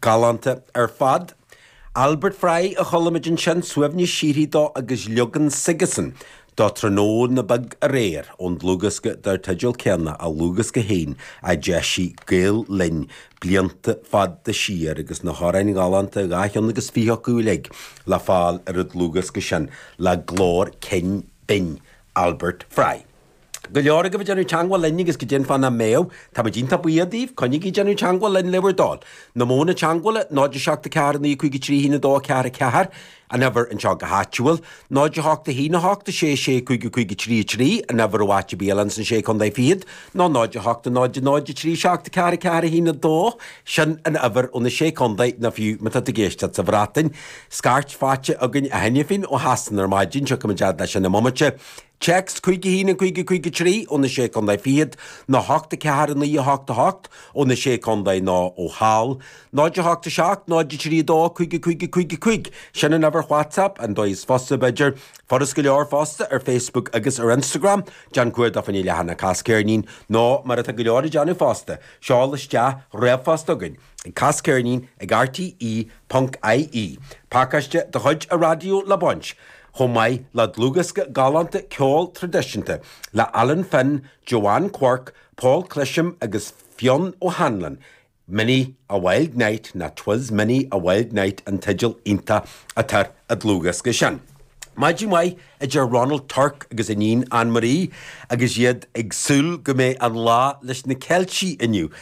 Galánta ar fad. Albert Fry a chuala muid ansin, suaimhneas síoraí dó agus leagan s'aigesan de Tráthnóna Beag Aréir ón dlúthdhiosca dar teideal céanna, a dhlúthdhiosca féin a d'eisigh Gael Linn blianta fada siar agus na hamhráin ghalánta, 22 cheann acu uilig, le fáil ar an dlúthdhiosca sin le glór cinn binn Albert Fry. Go leor agaibh ag déanamh teagmháil linn agus goidé an fáth nach mbeadh. Táimid iontach buíoch daoibh. Coinnígí ag déanamh teagmháil linn le bhur dtoil. Na modhanna teagmhála, 0 7 4 9 5 3 1 2 4 4, an uimhir anseo go háitiúil, 0 8 1 8 6 6 5 5 3 3, an uimhir ó áit ar bith eile ins an Sé Contae Fichead, nó 0 8 0 0 3 7 4 4 1 2, sin an uimhir ó na Sé Contae nó fiú má tá tú ag éisteacht sa Bhreatain. Scairt faighte againn cheana féin ó Shasana ar maidin, tiocfaimid fhad leis sin i mbomaite. Téacs 5 1 5 5 3 ó na Sé Contae Fichead nó 8 4 9 8 8 ó na Sé Contae nó ó thall. 0 8 7 0 3 2 5 5 5 5 Sin an uimhir WhatsApp, an dóigh is fusa b'fhéidir. Furast go leor fosta ar Facebook agus ar Instagram, déan cuardach fá choinne leathanach Cas Ceirnín nó mar atá go leor ag déanamh fosta, seol isteach ríomhphost chugainn ag casceirnín ag rte ponc ie. Pacáiste de chuid an raidió le baint. chomh maith le dlúthdhiosca galánta ceoil traidisiúnta le Alan Finn, Joanne Quirke, Paul Clisham agus Fionn O'Hanlon, Many a Wild Night nó 'Twas Many a Wild Night an teideal iontach atá ar an dlúthdhiosca sin. Maidin mhaith, a deir Ronald Turk agus a iníon Anne Marie agus iad ag súil go mbeidh an lá leis na Ceiltigh inniu. Go.